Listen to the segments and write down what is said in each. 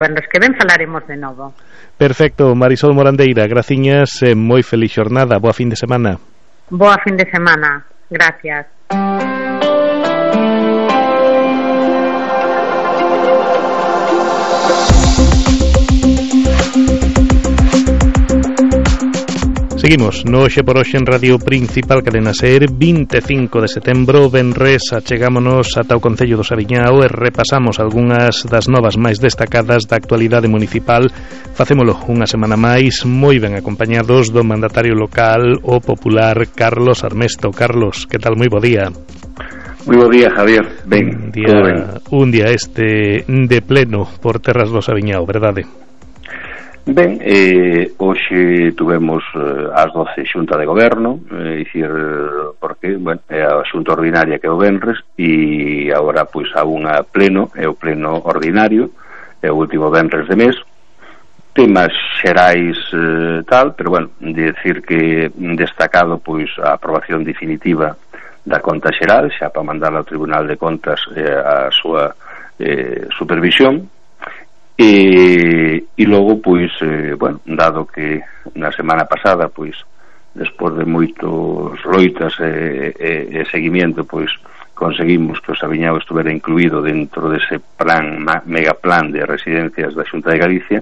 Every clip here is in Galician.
Venres que ven falaremos de novo. Perfecto, Marisol Morandeira, graciñas, moi feliz xornada, boa fin de semana. Boa fin de semana, gracias. Seguimos no Hoxe por Hoxe en Radio Principal Cadena SER, 25 de setembro, venres, achegámonos ata o Concello do Saviñao e repasamos algunhas das novas máis destacadas da actualidade municipal. Facémolo unha semana máis, moi ben acompañados do mandatario local, o popular Carlos Armesto. Carlos, que tal? Moi bo día. Moi bo día, Javier. Ben, un día este de pleno por terras do Saviñao, verdade? Ben, hoxe tuvemos ás 12 xunta de goberno, dicir, porque, bueno, é a xunta ordinaria que é o venres, e agora, pois, a unha pleno, é o pleno ordinario, é o último venres de mes, temas xerais tal, pero, bueno, de decir que destacado, pois, a aprobación definitiva da conta xeral, xa para mandar ao Tribunal de Contas a súa supervisión. E logo, pois, bueno, dado que na semana pasada, pois, despois de moitos loitas e seguimiento, pois, conseguimos que o Saviñao estuvera incluído dentro dese plan, megaplan de residencias da Xunta de Galicia,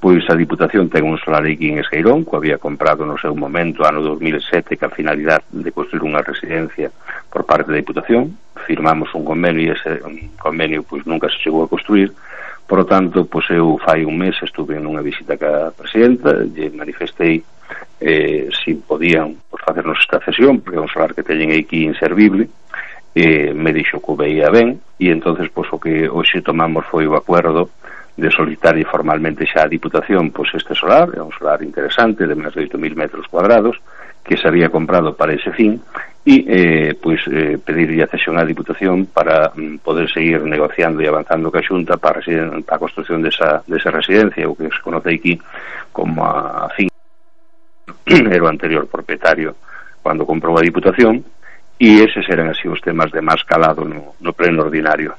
pois a Diputación ten un solar aquí en Esqueirón, que había comprado no seu momento, ano 2007, que a finalidade de construir unha residencia por parte da Diputación. Firmamos un convenio e ese convenio, pois, nunca se chegou a construir. Por lo tanto, pois eu fai un mes estuve nunha visita ca presidenta, e manifestei se podían facernos esta cesión, porque é un solar que teñen aquí inservible, me dixo que o veía ben, e entonces pois o que hoxe tomamos foi o acuerdo de solicitar formalmente xa a Diputación pois este solar, é un solar interesante de máis de 8.000 metros cuadrados, que se había comprado para ese fin, e pedirlle a cesión á Diputación para poder seguir negociando e avanzando ca Xunta para a construción desa residencia, o que se conoce aquí como a fin era o anterior propietario cando comprou a Diputación, e eses eran así os temas de máis calado no pleno ordinario.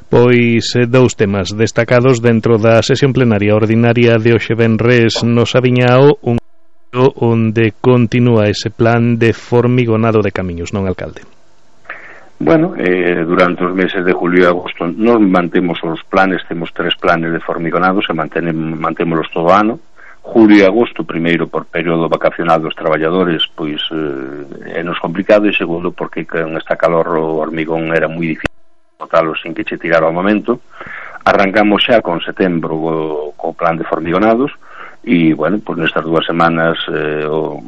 Pois dous temas destacados dentro da sesión plenaria ordinaria de hoxe venres no Saviñao, onde continúa ese plan de formigonado de camiños, non, alcalde? Bueno, durante os meses de julio e agosto nos mantemos os planes, temos 3 planes de formigonados e mantémolos todo o ano. Julio e agosto, primeiro por período vacacional dos traballadores, pois é nos complicado, e segundo porque con esta calor o hormigón era moi difícil botalo sin que che tirara ao momento. Arrancamos xa con setembro co plan de formigonados. E, bueno, pois nestas 2 semanas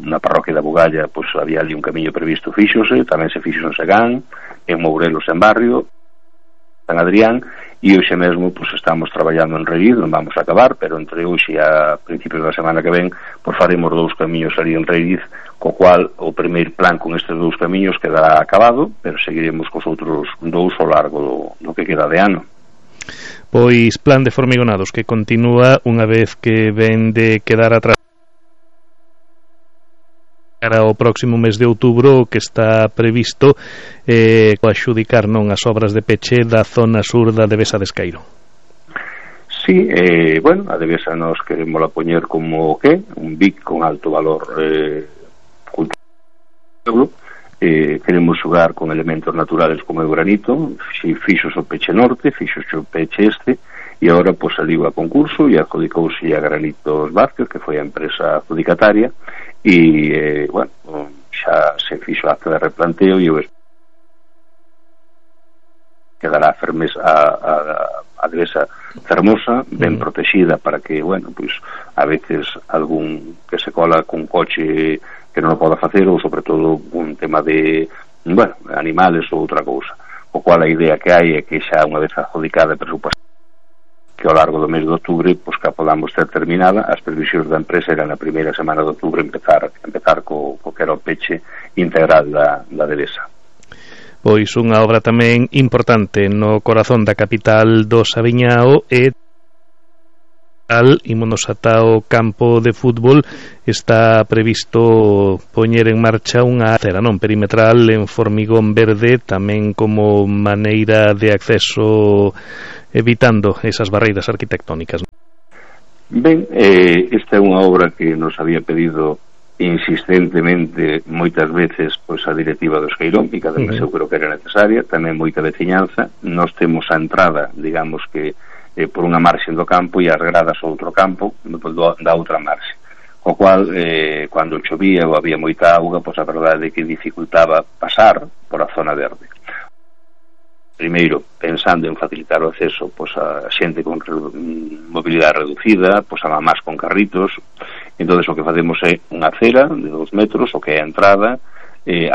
na parroquia da Bugalla pois había ali un camiño previsto, fíxose, tamén se fixo en Segán, en Mourelos, en Barrio, San Adrián, e hoxe mesmo pois estamos traballando en Reguiz, non vamos a acabar, pero entre hoxe e a principios da semana que ven pois faremos 2 camiños ali en Reguiz, co cual o primeiro plan con estes 2 camiños quedará acabado, pero seguiremos cos outros 2 ao largo do que queda de ano. Pois plan de formigonados que continúa unha vez que ven de quedar atrás para o próximo mes de outubro, que está previsto adxudicar non as obras de peche da zona sur da Devesa de Escairo. Sí, bueno, a Devesa nos queremos la poñer como un BIC con alto valor cultural. Queremos xogar con elementos naturales como o granito, fixos o peche norte, fixos o peche este, e agora pois saliu a concurso e adjudicouse a Granitos Vázquez, que foi a empresa adjudicataria, e, bueno, xa se fixo a acta de replanteo e quedará fermes a Devesa fermosa, ben protexida, para que, bueno, pois a veces algún que se cola cun coche que non o poda facer, ou sobre todo un tema de, bueno, animales ou outra cousa, o cual a idea que hai é que xa unha vez adjudicada e presupuestada que ao largo do mes de outubro pois que a podamos ter terminada. As previsións da empresa eran na primeira semana de outubro empezar co que era o peche integral da Devesa. Pois unha obra tamén importante no corazón da capital do Saviñao e ímonos ata o campo de fútbol. Está previsto poñer en marcha unha acera perimetral en formigón verde, tamén como maneira de acceso evitando esas barreiras arquitectónicas. Ben, esta é unha obra que nos había pedido insistentemente moitas veces pois a directiva do Esqueirón, e que además eu creo que era necesaria, tamén moita veciñanza. Nos temos a entrada, digamos que por unha marxe do campo e as gradas ao outro campo da outra marxe, o cual cando chovía ou había moita auga, pois a verdade é que dificultaba pasar por a zona verde. Primeiro, pensando en facilitar o acceso pois a xente con mobilidade reducida, pois a mamás con carritos. Entón, o que facemos é unha acera de 2 metros, o que é a entrada,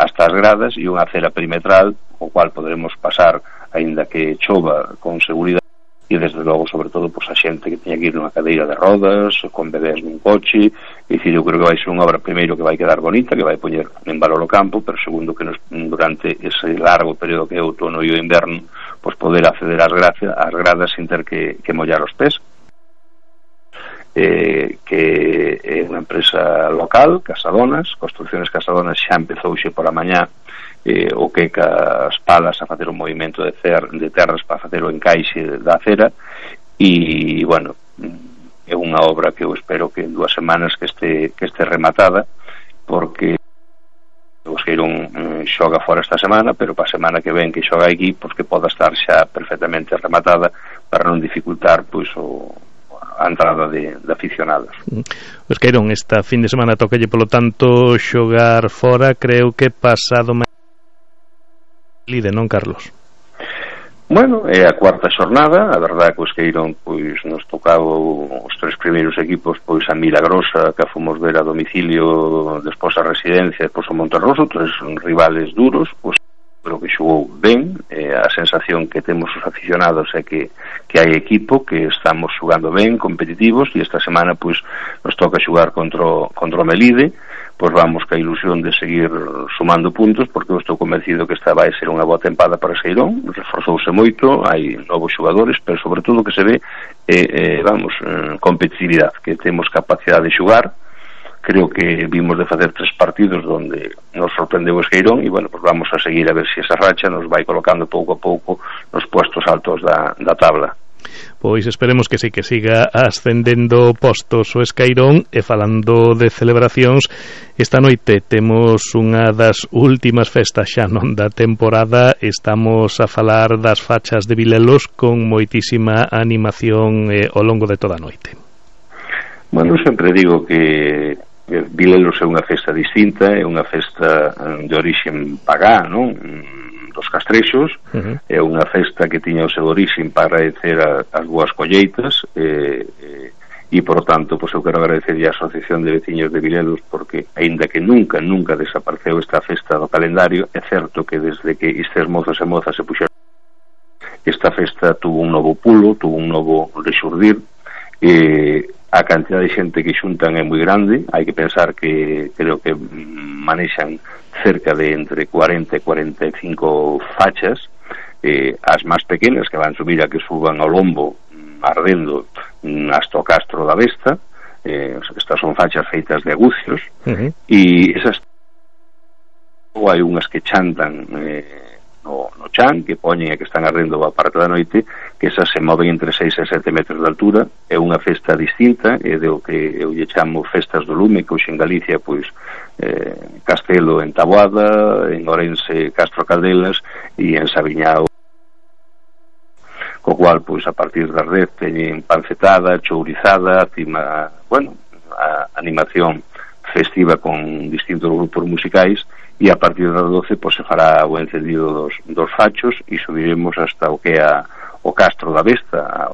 hasta as gradas, e unha acera perimetral, o cual poderemos pasar, aínda que chova, con seguridade, e desde logo, sobre todo, pois a xente que teña que ir nunha cadeira de rodas, con bebés nun coche. É dicir, eu creo que vai ser unha obra, primeiro, que vai quedar bonita, que vai poñer en valor o campo, pero segundo, que durante ese largo período que é o outono e o inverno, pois poder acceder ás gradas sin ter que mollar os pés. Que é unha empresa local, Casadonas, Construcciones Casadonas, xa empezou xe por a mañá o que cas palas a facer un movimento de terras para facer o encaixe da acera, e, bueno, é unha obra que eu espero que en 2 semanas que este rematada, porque o Esqueirón xoga fora esta semana, pero para a semana que ven que xoga aquí, pois que poda estar xa perfectamente rematada para non dificultar pois a entrada de aficionados. O Esqueirón esta fin de semana tocalle polo tanto xogar fora, creo que pasado Lide, non, Carlos? Bueno, é a 4ª xornada. A verdade que o Esqueirón pois nos tocaba os 3 primeiros equipos pois a Milagrosa, que fomos ver a domicilio, despois a Residencia, despois o Monterroso, 3 rivales duros. Pois creo que xogou ben. A sensación que temos os aficionados é que hai equipo, que estamos xogando ben, competitivos, e esta semana pois nos toca xogar contra o Melide. Pois vamos ca ilusión de seguir sumando puntos, porque eu estou convencido que esta vai ser unha boa tempada para Esqueirón. Reforzouse moito, hai novos xogadores, pero sobre todo que se ve competitividade, que temos capacidade de xogar. Creo que vimos de facer 3 partidos onde nos sorprendeu o Esqueirón, e, bueno, pues vamos a seguir a ver se esa racha nos vai colocando pouco a pouco nos puestos altos da tabla. Pois esperemos que sí, que siga ascendendo postos o Esqueirón. E falando de celebracións, esta noite temos unha das últimas festas xa non da temporada. Estamos a falar das fachas de Vilelos con moitísima animación ao longo de toda a noite. Bueno, sempre digo que Vilelos é unha festa distinta, é unha festa de orixen pagá, non? Dos castrexos. É unha festa que tiña o seu orixen para agradecer as boas colleitas, e por tanto, pois eu quero agradecer a Asociación de Veciños de Vilelos, porque aínda que nunca desapareceu esta festa do calendario, é certo que desde que estes mozos e mozas se puxeron, esta festa tuvo un novo pulo, tuvo un novo rexurdir. A cantidad de xente que xuntan é moi grande. Hai que pensar que creo que manexan cerca de entre 40 e 45 fachas, as máis pequenas, que van subir a que suban ao lombo ardendo hasta o Castro da Vesta. Estas son fachas feitas de agucios, e esas hai unhas que chantan no chan, que poñen e que están ardendo a parte da noite, que esas se moven entre 6 e 7 metros de altura. É unha festa distinta, é do que eu lle chamo festas do lume, que hoxe en Galicia pois Castelo en Taboada, en Ourense Castro Caldelas, e en Sabiñao, co cual pois a partir das 10 teñen pancetada, chourizada, a animación festiva con distintos grupos musicais, e a partir das 12 pois se fará o encendido dos fachos, e subiremos hasta o que é o Castro da Vesta,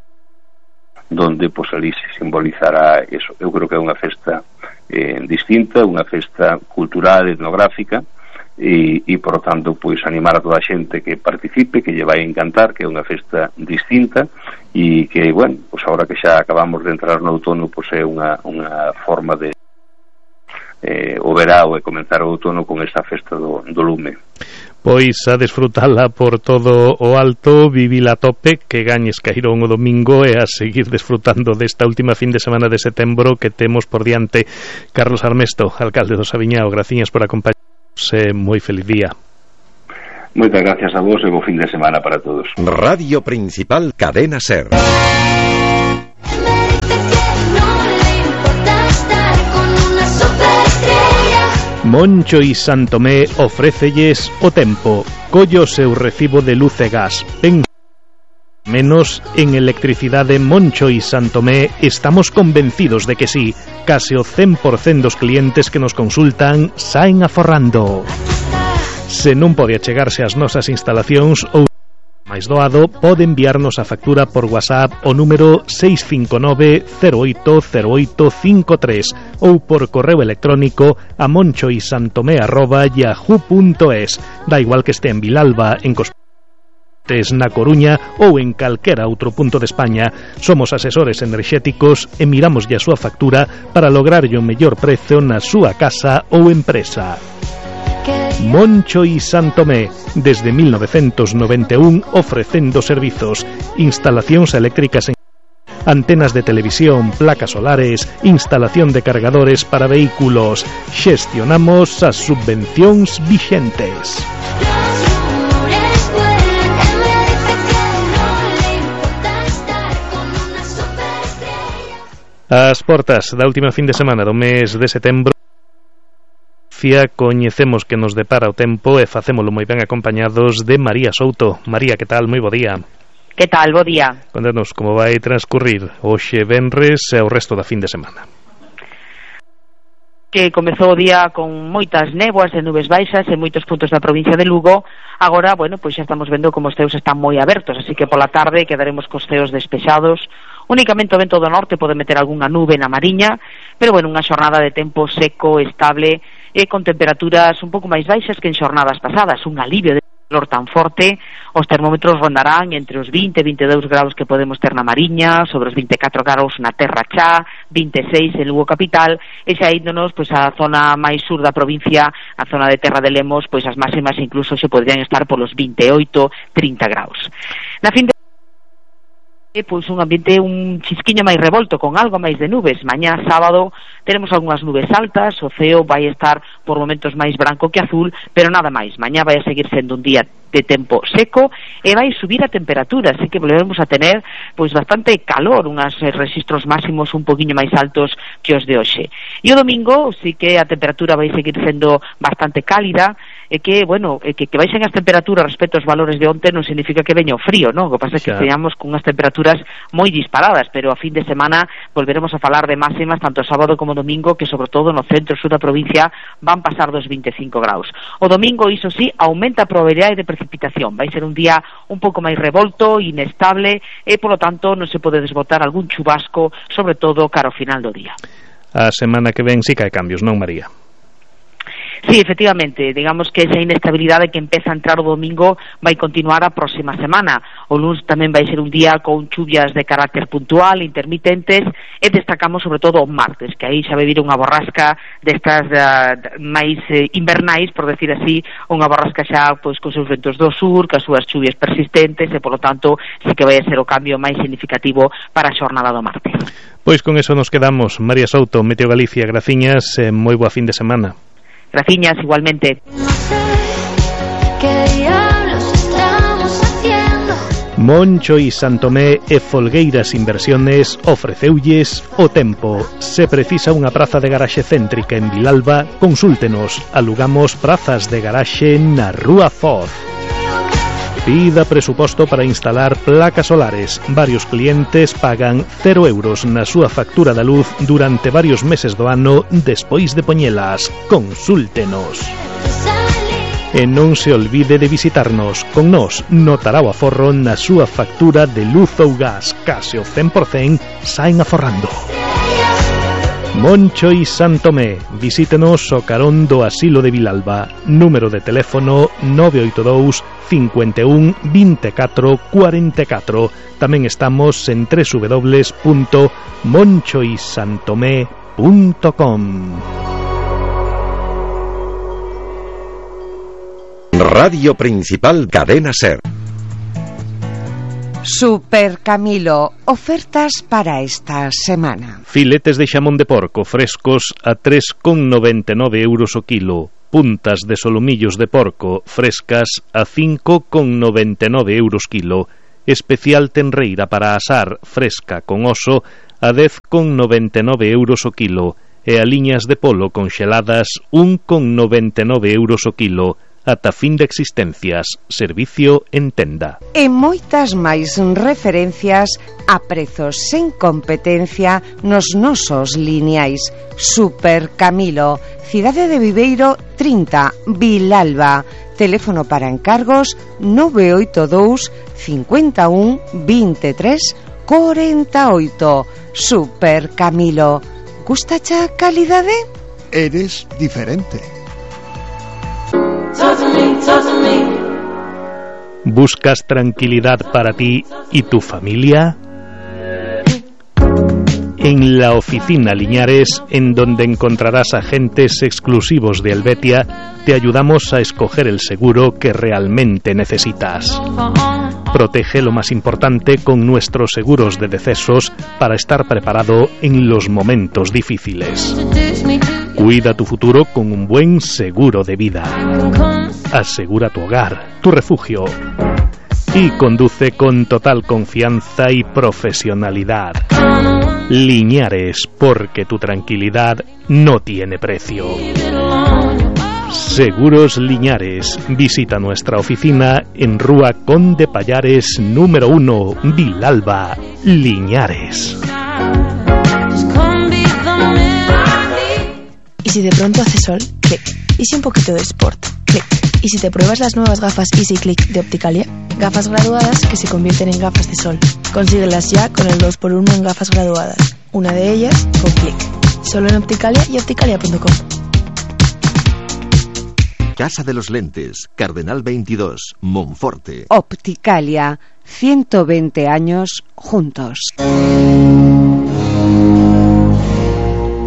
donde pois ali se simbolizará eso. Eu creo que é unha festa distinta, unha festa cultural, etnográfica, e por tanto pois animar a toda a xente que participe, que lle vai encantar, que é unha festa distinta, e que, bueno, pois agora que xa acabamos de entrar no outono, pois é unha forma de o verao e comenzar o outono con esta festa do lume. Pois a desfrutala por todo o alto, vivila a tope, que gañe Esqueirón o domingo, e a seguir desfrutando desta última fin de semana de setembro que temos por diante. Carlos Armesto, alcalde do Sabiñao, graciñas por acompañarnos, moi feliz día. Moitas gracias a vos e bo fin de semana para todos. Radio Principal Cadena SER. Moncho y Santomé ofrécelles o tempo. Collo seu recibo de luz e gas. Pen menos en electricidade Moncho y Santomé estamos convencidos de que sí. Case o 100% dos clientes que nos consultan saen aforrando. Se non pode achegarse ás nosas instalacións ou máis doado, pode enviarnos a factura por WhatsApp o número 659-080853 ou por correo electrónico a monchoysantomé@yahoo.es. Da igual que este en Vilalba, en Cospentes, na Coruña ou en calquera outro punto de España. Somos asesores enerxéticos e miramos a súa factura para lograrlle o mellor prezo na súa casa ou empresa. Moncho y Santomé, desde 1991 ofrecendo servizos, instalacións eléctricas en antenas de televisión, placas solares, instalación de cargadores para vehículos. Xestionamos as subvencións vixentes. As portas da última fin de semana do mes de setembro coñecemos que nos depara o tempo e facémolo moi ben acompañados de María Souto. María, que tal? Moi bo día. Que tal? Bo día. Contanos como vai transcurrir hoxe venres e o resto da fin de semana. Que comezou o día con moitas néboas e nubes baixas en moitos puntos da provincia de Lugo. Agora, bueno, pois xa estamos vendo como os ceos están moi abertos, así que pola tarde quedaremos cos ceos despexados. Únicamente o vento do norte pode meter algunha nube na Mariña, pero bueno, unha xornada de tempo seco, estable e con temperaturas un pouco máis baixas que en xornadas pasadas, un alivio de calor tan forte. Os termómetros rondarán entre os 20 e 22 graus que podemos ter na Mariña, sobre os 24 graus na Terra Chá, 26 en Lugo capital, e xa índonos pois a zona máis sur da provincia, a zona de Terra de Lemos, pois as máximas incluso se podrían estar polos 28, 30 graus. Na fin de pois un ambiente un chisquiño máis revolto, con algo máis de nubes. Mañá sábado teremos algunhas nubes altas, o ceo vai estar por momentos máis branco que azul, pero nada máis. Mañá vai a seguir sendo un día de tempo seco e vai subir a temperatura, así que volveremos a tener pois bastante calor, unhas registros máximos un poquinho máis altos que os de hoxe. E o domingo sí que a temperatura vai seguir sendo bastante cálida, e que, bueno, que baixen as temperaturas respecto aos valores de onte non significa que veña o frío, non? O que pasa é que teñamos con unhas temperaturas moi disparadas, pero a fin de semana volveremos a falar de máximas tanto sábado como domingo, que sobre todo no centro e sur da provincia van pasar dos 25 graus. O domingo, iso sí, aumenta a probabilidade de precipitación. Vai ser un día un pouco máis revolto, inestable, e polo tanto non se pode desbotar algún chubasco, sobre todo cara ao final do día. A semana que ven sí que hai cambios, non, María? Sí, efectivamente, digamos que esa inestabilidade que empeza a entrar o domingo vai continuar a próxima semana. O luns tamén vai ser un día con chuvias de carácter puntual, intermitentes, e destacamos sobre todo o martes, que aí xa vai vir unha borrasca destas máis invernais, por decir así, unha borrasca xa pois con seus ventos do sur, cas súas chuvias persistentes, e polo tanto sí que vai ser o cambio máis significativo para a xornada do martes. Pois con eso nos quedamos. María Souto, Meteo Galicia, graciñas, moi boa fin de semana. Graciñas, igualmente. Moncho y Santomé e Folgueiras Inversiones ofreceulles o tempo. Se precisa unha praza de garaxe céntrica en Vilalba, consúltenos. Alugamos prazas de garaxe na Rúa Foz. Pida presuposto para instalar placas solares. Varios clientes pagan 0 euros na súa factura da luz durante varios meses do ano despois de poñelas. Consúltenos. E non se olvide de visitarnos. Con nós notará o aforro na súa factura de luz ou gas. Case o 100% saen aforrando. Moncho y Santomé. Visítenos o carón do Asilo de Vilalba. Número de teléfono 982 51 24 44. Tamén estamos en www.monchoysantomé.com. Radio Principal Cadena SER. Super Camilo, ofertas para esta semana. Filetes de xamón de porco frescos a 3,99 euros o kilo. puntas de solomillos de porco frescas a 5,99 euros kilo, especial tenreira para asar fresca con oso a 10,99 euros o kilo e a liñas de polo conxeladas 1,99 euros o kilo ata fin de existencias, servicio en tenda. E moitas máis referencias a prezos sen competencia nos nosos lineais. Super Camilo, Cidade de Viveiro 30, Vilalba. Teléfono para encargos 982 51 23 48. Super Camilo. Gustacha calidade? Eres diferente. ¿Buscas tranquilidad para ti y tu familia? En la oficina Liñares, en donde encontrarás agentes exclusivos de Helvetia, te ayudamos a escoger el seguro que realmente necesitas. Protege lo más importante con nuestros seguros de decesos para estar preparado en los momentos difíciles. Cuida tu futuro con un buen seguro de vida. Asegura tu hogar, tu refugio. Y conduce con total confianza y profesionalidad. Liñares, porque tu tranquilidad no tiene precio. Seguros Liñares. Visita nuestra oficina en Rúa Conde Pallares número 1, Vilalba, Liñares. ¿Y si de pronto hace sol? Clic. ¿Y si un poquito de sport? Clic. ¿Y si te pruebas las nuevas gafas Easy Click de Opticalia? Gafas graduadas que se convierten en gafas de sol. Consíguelas ya con el 2x1 en gafas graduadas. Una de ellas con Clic. Solo en Opticalia y opticalia.com. Casa de los Lentes, Cardenal 22, Monforte. Opticalia, 120 años juntos.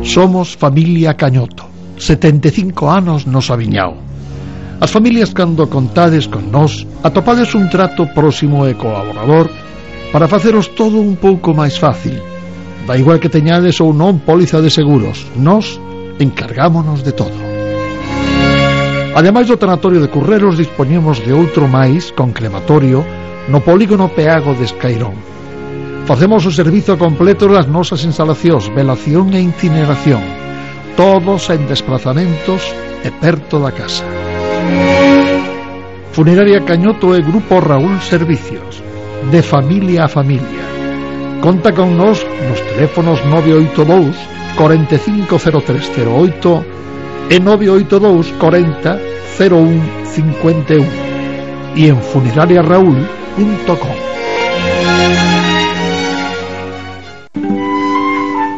Somos familia Cañoto, 75 anos nos aviñao. As familias cando contades con nós, atopades un trato próximo e colaborador para faceros todo un pouco máis fácil. Da igual que teñades ou non póliza de seguros, nós encargámonos de todo. Ademais do tanatorio de Curreros, dispoñemos de outro máis con crematorio no polígono Peago de Escairón. Facemos o servizo completo das nosas instalacións, velación e incineración, todos en desplazamentos e perto da casa. Funeraria Cañoto e Grupo Raúl Servicios, de familia a familia. Conta con nós nos teléfonos 982 450308 e 982 40 01 51 e en funerariaraúl.com.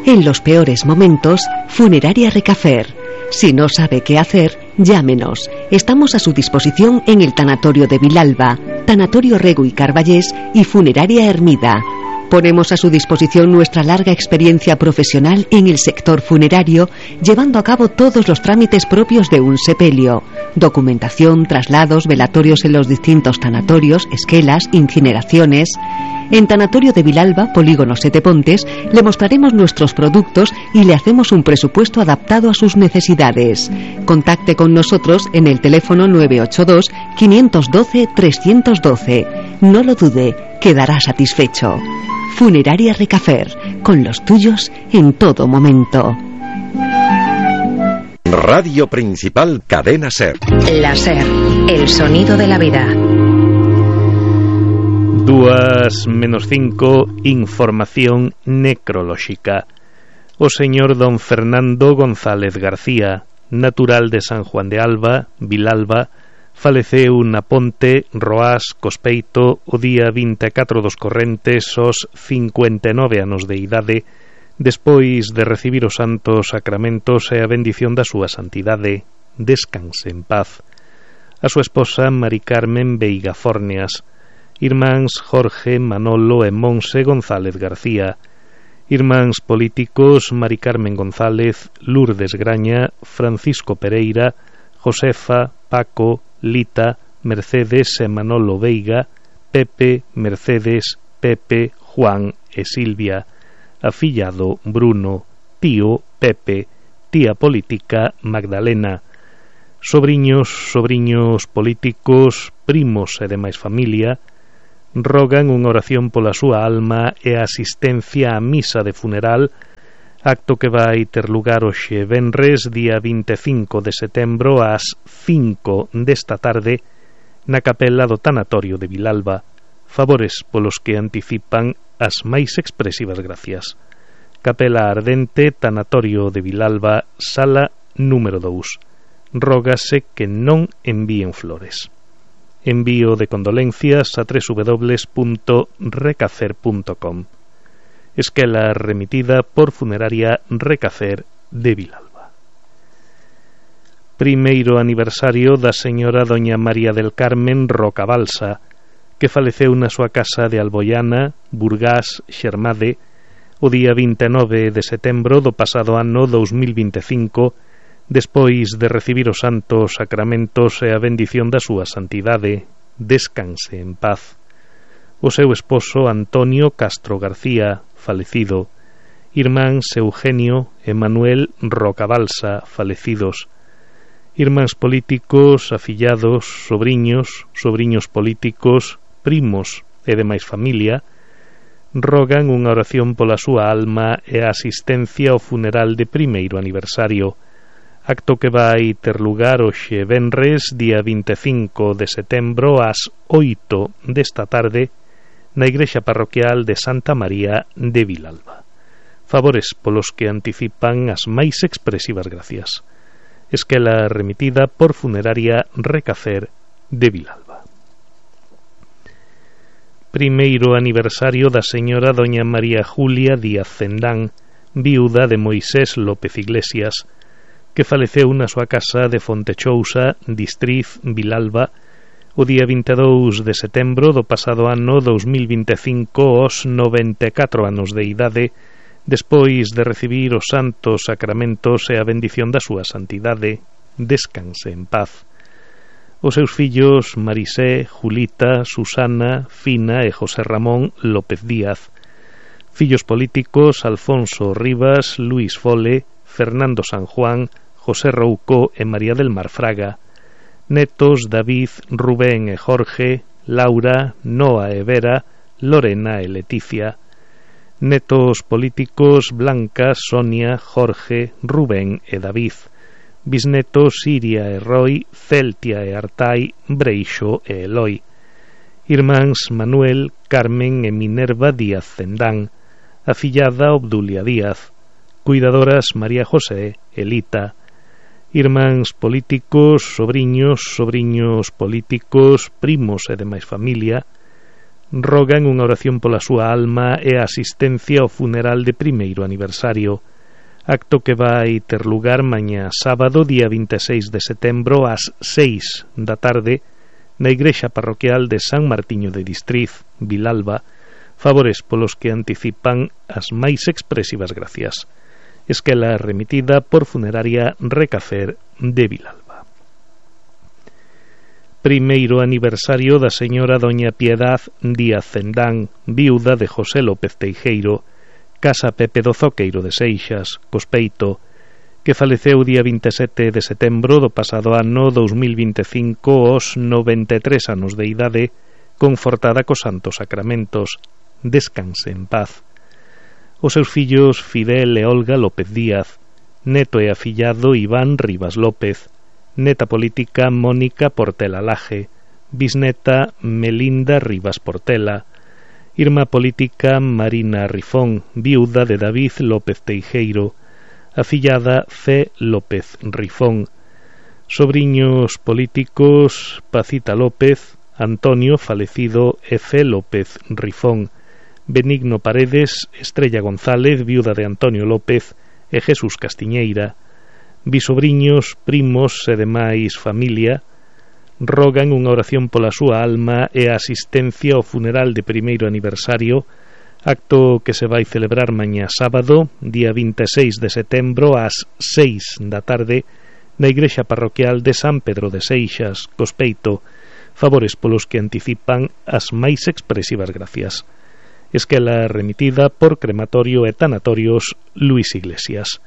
En los peores momentos, Funeraria Recafer. Si no sabe qué hacer, llámenos. Estamos a su disposición en el Tanatorio de Vilalba, Tanatorio Rego y Carballés y Funeraria Hermida. Ponemos a su disposición nuestra larga experiencia profesional en el sector funerario, llevando a cabo todos los trámites propios de un sepelio: documentación, traslados, velatorios en los distintos tanatorios, esquelas, incineraciones. En Tanatorio de Vilalba, Polígono Sete Pontes, le mostraremos nuestros productos y le hacemos un presupuesto adaptado a sus necesidades. Contacte con nosotros en el teléfono 982 512 312. No lo dude, quedará satisfecho. Funeraria Recafer, con los tuyos en todo momento. Radio Principal Cadena SER. La SER, el sonido de la vida. 2:05, información necrolóxica. O señor don Fernando González García, natural de San Juan de Alba, Vilalba, faleceu na Ponte, Roás, Cospeito, o día 24 dos correntes, aos 59 anos de idade, despois de recibir os santos sacramentos e a bendición da súa santidade. Descanse en paz. A súa esposa, Mari Carmen Veiga Fórneas, irmáns Jorge, Manolo e Monse González García, irmáns políticos Mari Carmen González, Lourdes Graña, Francisco Pereira, Josefa, Paco, Lita, Mercedes e Manolo Veiga, Pepe, Mercedes, Pepe, Juan e Silvia, afillado Bruno, tío Pepe, tía política Magdalena, sobriños políticos, primos e demais familia rogan unha oración pola súa alma e a asistencia á misa de funeral, acto que vai ter lugar hoxe venres, día 25 de setembro ás 5 desta tarde na capela do tanatorio de Vilalba. Favores polos que anticipan as máis expresivas gracias. Capela Ardente, tanatorio de Vilalba, sala número 2. Rógase que non envíen flores. Envío de condolencias a www.recacer.com. Esquela remitida por Funeraria Recacer de Vilalba. Primeiro aniversario da señora doña María del Carmen Rocabalsa, que faleceu na súa casa de Alboiana, Burgás, Xermade, o día 29 de setembro do pasado ano 2025, despois de recibir os santos sacramentos e a bendición da súa santidade. Descanse en paz. O seu esposo Antonio Castro García, falecido, irmáns Eugenio e Manuel Rocabalsa, falecidos, irmáns políticos, afillados, sobriños políticos, primos e demais familia, rogan unha oración pola súa alma e a asistencia ao funeral de primeiro aniversario, acto que vai ter lugar hoxe venres, día 25 de setembro ás 8 desta tarde na igrexa parroquial de Santa María de Vilalba. Favores polos que anticipan as máis expresivas gracias. Esquela remitida por Funeraria Recacer de Vilalba. Primeiro aniversario da señora doña María Julia Díaz Cendán, viuda de Moisés López Iglesias, que faleceu na súa casa de Fontechousa, Distriz, Vilalba, o día 22 de setembro do pasado ano 2025 aos 94 anos de idade, despois de recibir os santos sacramentos e a bendición da súa santidade. Descanse en paz. Os seus fillos Marisé, Julita, Susana, Fina e José Ramón López Díaz. Fillos políticos Alfonso Rivas, Luis Fole, Fernando San Juan, José Rouco e María del Mar Fraga. Netos David, Rubén e Jorge, Laura, Noa e Vera, Lorena e Leticia. Netos políticos Blanca, Sonia, Jorge, Rubén e David. Bisnetos Siria e Roy, Celtia e Artai, Breixo e Eloi. Irmáns Manuel, Carmen e Minerva Díaz Cendán. Afillada Obdulia Díaz. Cuidadoras María José, Elita. Irmáns políticos, sobriños políticos, primos e demais familia, rogan unha oración pola súa alma e a asistencia ao funeral de primeiro aniversario, acto que vai ter lugar mañá sábado, día 26 de setembro ás 6 da tarde na igrexa parroquial de San Martiño de Distriz, Vilalba. Favores polos que anticipan as máis expresivas gracias. Esquela remitida por Funeraria Recacer de Vilalba. Primeiro aniversario da señora doña Piedad Díaz Cendán, viuda de José López Teijeiro, casa Pepe do Zoqueiro de Seixas, Cospeito, que faleceu día 27 de setembro do pasado ano 2025 aos 93 anos de idade, confortada cos santos sacramentos. Descanse en paz. Os seus fillos Fidel e Olga López Díaz, neto e afillado Iván Rivas López, neta política Mónica Portela Laje, bisneta Melinda Rivas Portela, irmá política Marina Rifón, viuda de David López Teijeiro, afillada C. López Rifón, sobriños políticos Pacita López, Antonio falecido F. López Rifón, Benigno Paredes, Estrella González, viuda de Antonio López, e Jesús Castiñeira. Bisobriños, primos e demais familia rogan unha oración pola súa alma e a asistencia ao funeral de primeiro aniversario, acto que se vai celebrar mañá sábado, día 26 de setembro ás 6 da tarde na igrexa parroquial de San Pedro de Seixas, Cospeito. Favores polos que anticipan as máis expresivas gracias. Esquela remitida por Crematorio e Tanatorios Luis Iglesias.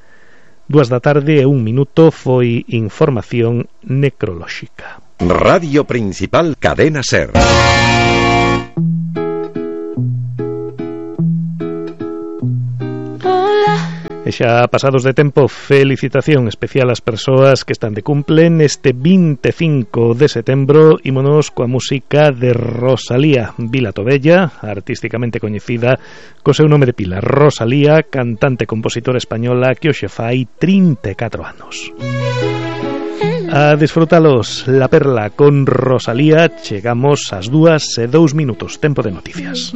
2:01 foi información necrolóxica. Radio Principal Cadena SER. E xa pasados de tempo, felicitación especial ás persoas que están de cumple neste 25 de setembro. Ímonos coa música de Rosalía Vila Tobella, artísticamente coñecida co seu nome de pila, Rosalía, cantante e compositora española que hoxe fai 34 anos. A disfrutalos La Perla con Rosalía. Chegamos ás 2:02, tempo de noticias.